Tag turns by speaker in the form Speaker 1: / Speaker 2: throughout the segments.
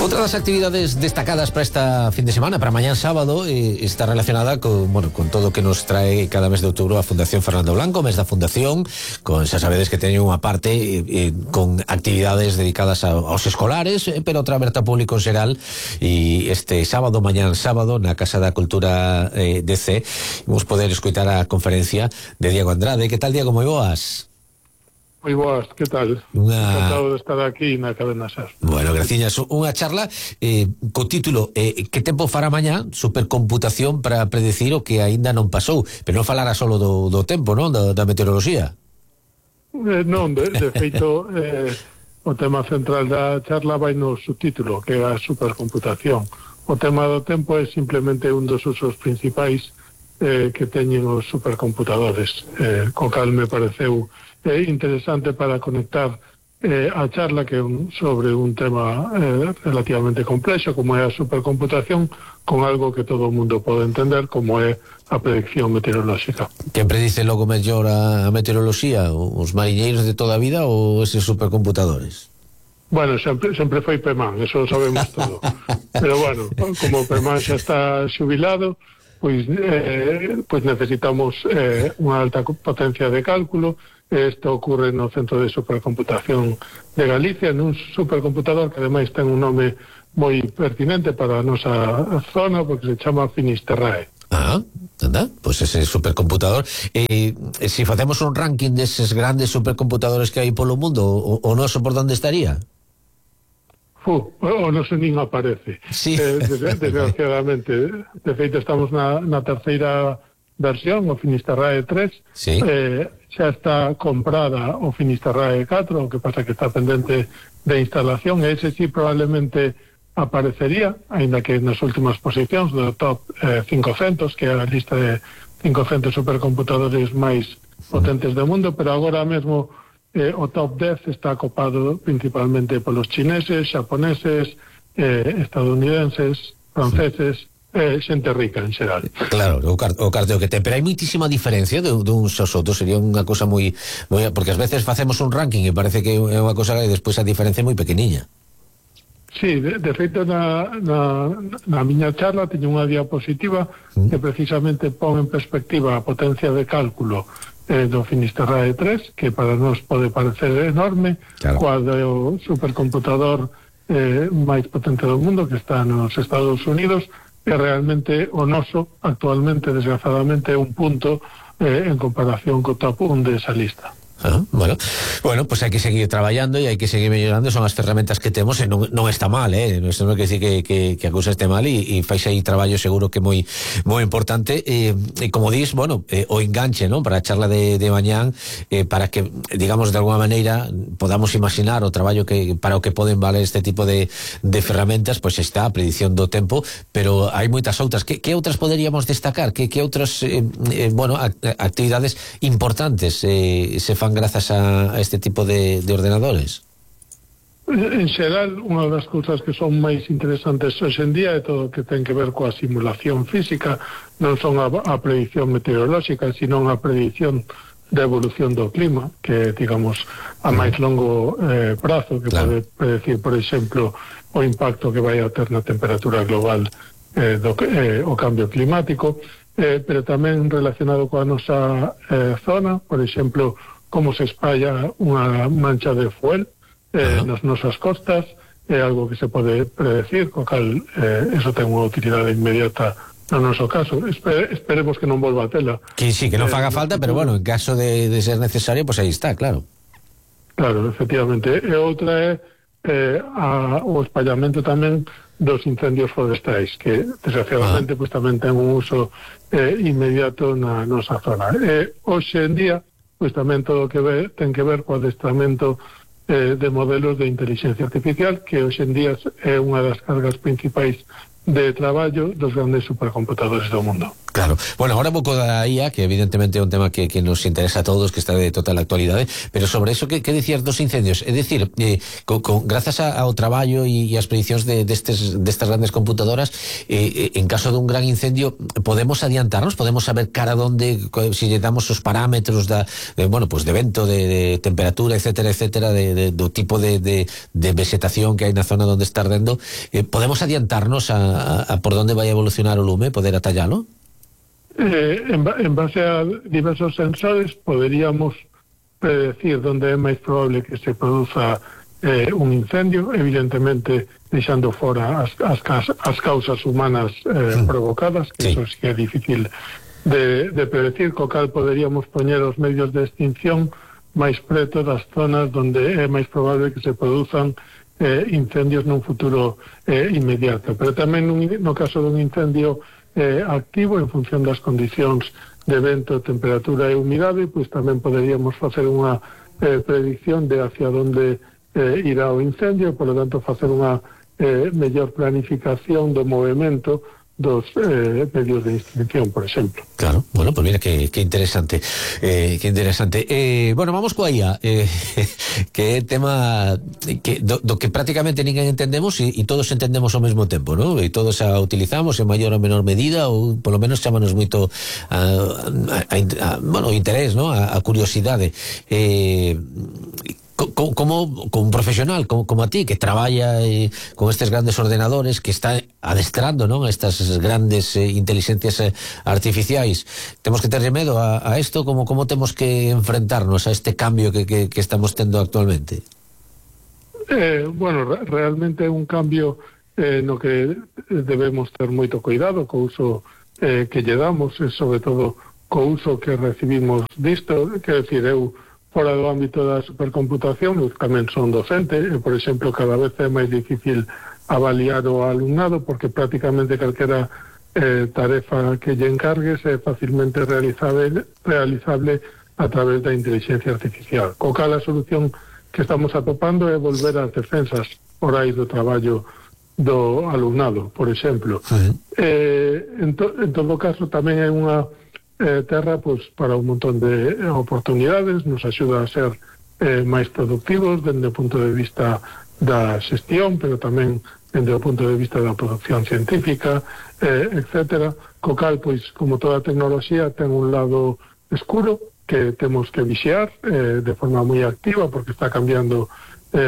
Speaker 1: Outra das actividades destacadas para esta fin de semana, para mañán sábado, está relacionada con todo o que nos trae cada mes de outubro a Fundación Fernando Blanco, mes da Fundación, con, xa sabedes que teñen unha parte con actividades dedicadas aos escolares, pero outra aberta ao público en xeral, e este sábado, mañán sábado, na Casa da Cultura DC, vamos poder escoitar a conferencia de Diego Andrade. Que tal, Diego? Moi boas.
Speaker 2: Moi boas, que tal? Encantado de estar aquí na Cadena SER.
Speaker 1: Bueno, graciñas. Unha charla co título que tempo fará mañá? Supercomputación para predecir o que aínda non pasou. Pero non falara solo do tempo, non? Da meteoroloxía.
Speaker 2: Non, de feito, o tema central da charla vai no subtítulo, que é a supercomputación. O tema do tempo é simplemente un dos usos principais que teñen os supercomputadores, co cal me pareceu interesante para conectar a charla que sobre un tema relativamente complexo como é a supercomputación con algo que todo o mundo pode entender como é a predicción meteorolóxica.
Speaker 1: Quen predice logo mellor a meteoroloxía? Os mariñeiros de toda a vida ou eses supercomputadores?
Speaker 2: Bueno, sempre foi Pemán, eso lo sabemos todo. Pero bueno, como Pemán xa está xubilado, pois necesitamos unha alta potencia de cálculo. Isto ocurre no Centro de Supercomputación de Galicia, nun supercomputador que ademais ten un nome moi pertinente para a nosa zona, porque se chama Finisterrae.
Speaker 1: Anda, pois ese supercomputador, se facemos un ranking deses grandes supercomputadores que hai polo mundo, o noso por onde estaría?
Speaker 2: O noso nin aparece.
Speaker 1: Sí.
Speaker 2: Desgraciadamente. De feito, estamos na terceira versión, o Finisterrae 3.
Speaker 1: Sí.
Speaker 2: Xa está comprada o Finisterrae 4, o que pasa que está pendente de instalación, e ese sí probablemente aparecería, aínda que nas últimas posicións do top 500, que é a lista de 500 supercomputadores máis potentes do mundo, pero agora mesmo o top 10 está copado principalmente polos chineses, xaponeses, estadounidenses, franceses, xente rica en xeral.
Speaker 1: Claro, o carteo que ten, pero hai moitísima diferencia duns aos outros. Sería unha cosa moi, porque ás veces facemos un ranking e parece que é unha cosa e despois a diferencia é moi pequeniña.
Speaker 2: Sí, de feito na miña charla teño unha diapositiva que precisamente pon en perspectiva a potencia de cálculo do Finisterrae 3, que para nós pode parecer enorme, claro, coa do supercomputador máis potente do mundo, que está nos Estados Unidos, e realmente o noso actualmente, desgraciadamente, é un punto en comparación co top 1 desa lista.
Speaker 1: Bueno, pues hai que seguir traballando e hai que seguir mellorando, son as ferramentas que temos e non está mal, non quer decir que a cousa este mal, e fais aí traballo seguro que moi importante, e como dis, bueno, o enganche, non, para a charla de mañán, para que, digamos, de alguna maneira podamos imaginar o traballo que para o que poden valer este tipo de ferramentas, pois está a predicción do tempo, pero hai moitas outras. Que outras poderíamos destacar? Que outras actividades importantes se fan grazas a este tipo de ordenadores?
Speaker 2: En xeral, unha das cousas que son máis interesantes hoxe en día é todo o que ten que ver coa simulación física, non son a predicción meteorolóxica, sino a predicción da evolución do clima, que digamos a máis longo prazo, que claro, pode predecir, por exemplo, o impacto que vai a ter na temperatura global o cambio climático, pero tamén relacionado coa nosa zona, por exemplo, como se espalla unha mancha de fuel nas nosas costas, é algo que se pode predecir, co cal eso ten unha utilidade inmediata no noso caso. Esperemos que non volva a tela.
Speaker 1: Que sí, que non faga falta, pero bueno, en caso de ser necesario, pues aí está, claro.
Speaker 2: Claro, efectivamente. E outra é o espallamento tamén dos incendios forestais, que desgraciadamente pues tamén ten un uso inmediato na nosa zona. Hoxe en día pois tamén todo o que ten que ver co adestramento de modelos de inteligencia artificial, que hoxe en día é unha das cargas principais de traballo dos grandes supercomputadores do mundo.
Speaker 1: Claro. Bueno, ahora un pouco da IA, que evidentemente é un tema que nos interesa a todos, que está de total actualidade, pero sobre eso que decías dos incendios, é dicir, grazas ao traballo e as predicións destas grandes computadoras, en caso dun gran incendio, podemos adiantarnos, podemos saber cara donde, se lle damos os parámetros de vento, de temperatura, etcétera, do tipo de vegetación que hai na zona onde está ardendo, podemos adiantarnos a por donde vai evolucionar o lume, poder atallalo?
Speaker 2: En base a diversos sensores poderíamos predecir donde é máis probable que se produza un incendio, evidentemente deixando fora as causas humanas provocadas, que eso sí é difícil de predecir, co cal poderíamos poñer os medios de extinción máis preto das zonas donde é máis probable que se produzan incendios nun futuro inmediato. Pero tamén no caso dun incendio activo, en función das condicións de vento, temperatura e humidade, pois tamén poderíamos facer unha predicción de hacia onde irá o incendio, por lo tanto facer unha mellor planificación do movimento dos medios de extinción, por exemplo.
Speaker 1: Claro, bueno, pues mira que interesante, bueno, vamos coa IA, que é tema do que prácticamente ninguén entendemos e todos entendemos ao mesmo tempo, ¿no? E todos a utilizamos en maior ou menor medida, ou polo menos chámanos moito o interés, ¿no? A curiosidade. Como un profesional como a ti, que traballa con estes grandes ordenadores, que está adestrando, non, estas grandes inteligencias artificiais, temos que terle medo a isto? Como temos que enfrentarnos a este cambio que estamos tendo actualmente?
Speaker 2: Bueno, realmente é un cambio no que debemos ter moito cuidado co uso que lle damos, e sobre todo co uso que recibimos disto. Quero dicir, eu fora do ámbito da supercomputación, eu tamén son docente, e, por exemplo, cada vez é máis difícil avaliar o alumnado, porque prácticamente calquera tarefa que lle encargues é facilmente realizable a través da inteligencia artificial. Co cal a solución que estamos atopando é volver ás defensas orais do traballo do alumnado, por exemplo. En todo caso, tamén é unha terra para un montón de oportunidades, nos axuda a ser máis productivos dende o punto de vista da xestión, pero tamén dende o punto de vista da producción científica, etcétera. Co cal, como toda tecnoloxía, ten un lado escuro que temos que vixiar de forma moi activa, porque está cambiando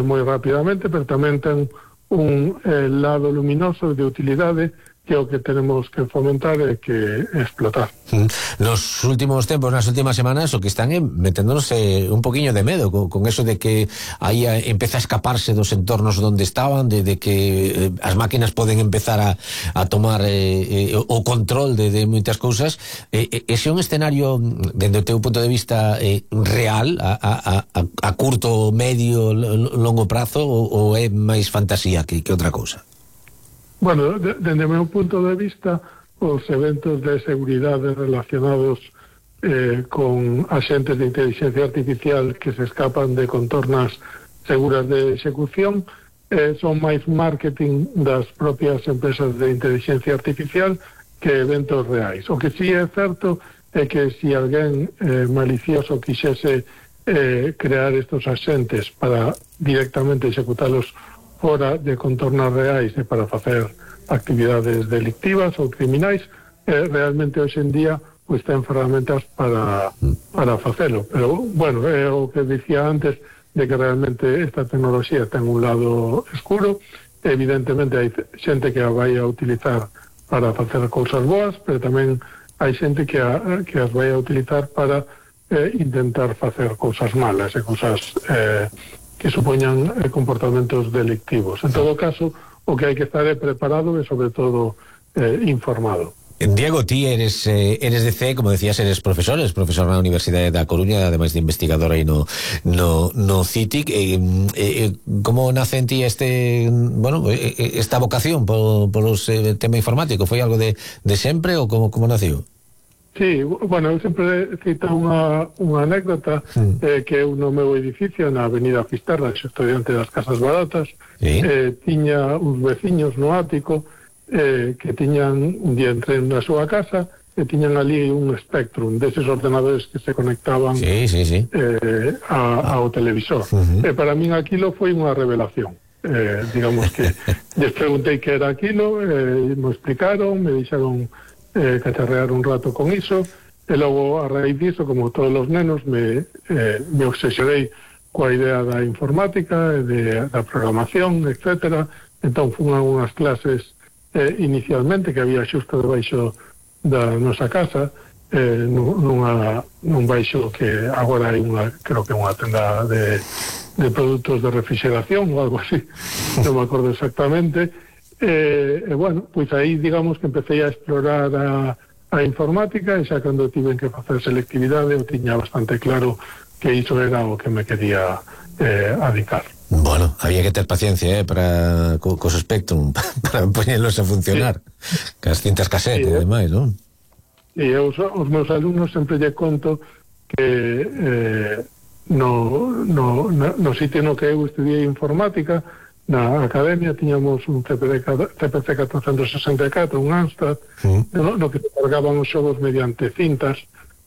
Speaker 2: moi rapidamente, pero tamén ten un lado luminoso de utilidade, que é o que tenemos que fomentar e que explotar.
Speaker 1: Nos últimos tempos, nas últimas semanas, o que están é meténdonos un poquinho de medo con eso de que aí empeza a escaparse dos entornos onde estaban, de que as máquinas poden empezar a tomar o control de moitas cousas. Ese é un escenario, dende o teu punto de vista, real, a curto, medio, longo prazo, ou é máis fantasía que outra cousa?
Speaker 2: Bueno, dende o meu punto de vista, os eventos de seguridade relacionados con axentes de inteligencia artificial que se escapan de contornas seguras de execución son máis marketing das propias empresas de inteligencia artificial que eventos reais. O que sí é certo é que se alguén malicioso quixese crear estos axentes para directamente executalos fora de contornas reais e para facer actividades delictivas ou criminais, realmente hoxe en día ten ferramentas para facelo. Pero, bueno, é o que dicía antes, de que realmente esta tecnoloxía ten un lado escuro. Evidentemente hai xente que a vai a utilizar para facer cousas boas, pero tamén hai xente que as vai a utilizar para intentar facer cousas malas e cousas que supoñan comportamentos delictivos. En todo caso, o que hai que estar é preparado e, sobre todo, informado.
Speaker 1: Diego, ti eres de CE, como decías, eres profesor na Universidade da Coruña, ademais de investigador aí no CITIC. Como nace en ti esta vocación polos tema informático? Foi algo de sempre ou como naceu?
Speaker 2: Sí, bueno, eu sempre cito unha anécdota que eu no meu edificio na Avenida Fisterra, estudiante das Casas Baratas, tiña uns veciños no ático que tiñan un día entré na súa casa e tiñan ali un Spectrum deses ordenadores que se conectaban ao televisor. E para min aquilo foi unha revelación. Digamos que les preguntei que era aquilo, me explicaron, me deixaron cacharrear un rato con iso, e logo a raíz diso, como todos os nenos, me obsesionei coa idea da informática, da programación, etcétera. Entón fun a unhas clases inicialmente que había xusto debaixo da nosa casa, nun baixo que agora hai creo que unha tenda de produtos de refrigeración ou algo así, non me acordo exactamente. Bueno, pois aí digamos que empecé a explorar a informática, e xa cando tiven que facer selectividade eu tiña bastante claro que iso era o que me quería adicar.
Speaker 1: Bueno, había que ter paciencia para cos Spectrum para poñelos a funcionar, que as cintas casete e demais, non?
Speaker 2: E os meus alumnos sempre lle conto que no sitio no que eu estudiei informática, na academia tiñamos un CPC 464, un Amstrad, no que se cargaban os xogos mediante cintas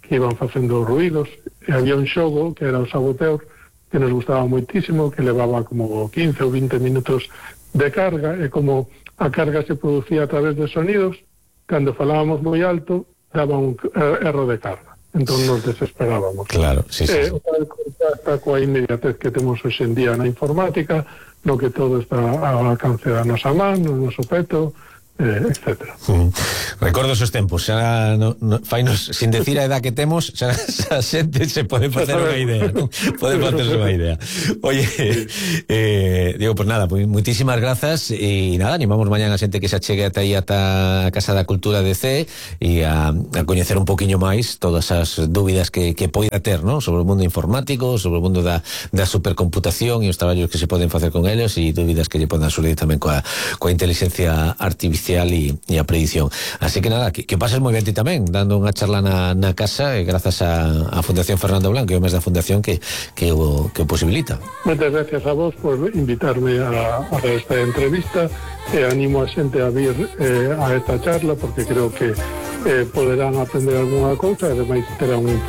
Speaker 2: que iban facendo ruidos, e había un xogo que era o Saboteur, que nos gustaba moitísimo, que levaba como 15 ou 20 minutos de carga, e como a carga se producía a través de sonidos, cando falábamos moi alto daba un erro de carga, entón nos desesperábamos.
Speaker 1: Claro, sí.
Speaker 2: Está coa inmediatez que temos hoxe en día na informática, no que todo está ao alcance da nosa man, no noso peto, etcétera.
Speaker 1: Recordo esos tempos, xa fainos, sin decir a edad que temos, xa a xente se pode facer unha idea, non? Pode facerse unha idea. Oye, digo, pues nada, pues muitísimas grazas, e nada, animamos mañán a xente que se achegue ata aí ata a Casa da Cultura de C e a coñecer un poquinho máis todas as dúbidas que poida ter, non? Sobre o mundo informático, sobre o mundo da supercomputación e os traballos que se poden facer con eles, e dúbidas que lle podan surgir tamén coa inteligencia artificial e a predicción. Así que nada, que pases moi ben ti tamén, dando unha charla na casa, e grazas a Fundación Fernando Blanco e o mes da Fundación que o posibilita.
Speaker 2: Moitas gracias a vos por invitarme a esta entrevista, e animo a xente a vir a esta charla, porque creo que poderán aprender algunha cousa, e ademais terán un